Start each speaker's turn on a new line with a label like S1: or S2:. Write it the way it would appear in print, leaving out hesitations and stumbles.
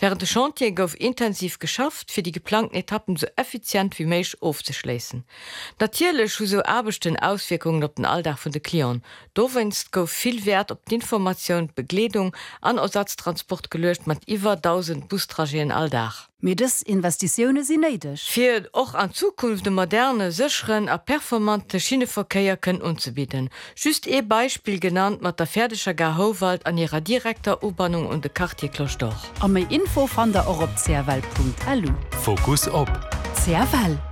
S1: Wärend de Chantiere gouf intensiv geschafft, fir déi geplangten Etappen esou effizient wéi méiglech ofzeschléissen. Natierlech hu sou Aarbechten Auswierkungen op den Alldag vun de Clienten. Dowéinst gouf vill Wäert op d'Informatioun, d'Begleedung an Ersatztransport geluecht, mat iwwer 1.000 Bustrajeten all Dag.
S2: Mee dës Investitioune sinn néideg.
S1: Fir och an Zukunft e moderne, sécheren a performante Schinneverkéier kënnen unzebidden. Just ee Beispill genannt mat der fäerdeger Gare Houwald an hirer direkter Ubannung un de Quartier Cloche d'Or.
S2: A méi Info fannt der och op cfl.lu.
S3: Fokus op.
S2: CFL.